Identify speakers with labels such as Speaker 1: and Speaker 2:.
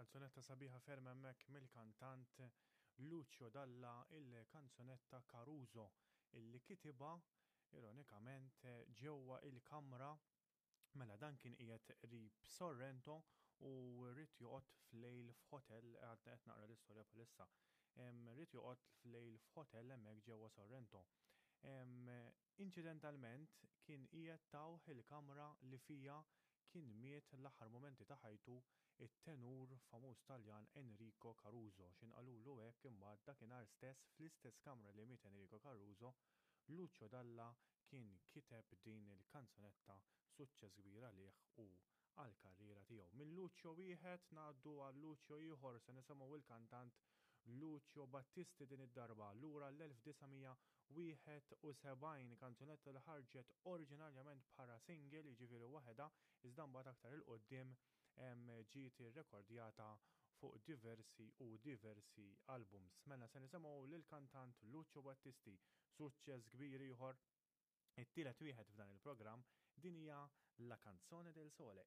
Speaker 1: Kanzunetta sabiħa ferm hemmhekk mill-kantant Lucio Dalla il-kanzunetta Caruso illi kitibha ironikament ġewwa il-kamra mela dan kien qiegħed qrib Sorrento u ried joqgħod f'lejl f'hotel għadna qed naqra l-istorja bħalissa. Ried joqgħod f'lejl f'hotel hemmhekk ġewwa Sorrento. Inċidentalment kien qiegħed tawh il-kamra li fiha kien miet l-aħħar mumenti ta' ħajtu it-tenur famuż Taljan Enrico Caruso. X'ħin qalulu hekk imbagħad dakinhar stess fl-istess kamra li miet Enrico Caruso, Lucio Dalla kien kiteb din il-kanzunetta suċċess kbir għalih u għall-karriera tiegħu. Minn Lucio wieħed ngħaddu għal Lucio ieħor se nisimgħu il-kantant Lucio Battisti din id-darba lura l-1971 kanzunetta li ħarġet oriġinarjament bħala single jiġifieri waħedha iżda mbagħad aktar 'il quddiem ġiet irrekordjata fuq diversi u diversi albums. Mela se nisimgħu lill-kantant Lucio Battisti, suċċess kbir ieħor it-tielet wieħed f'dan il-programm, din hija La Canzone del Sole.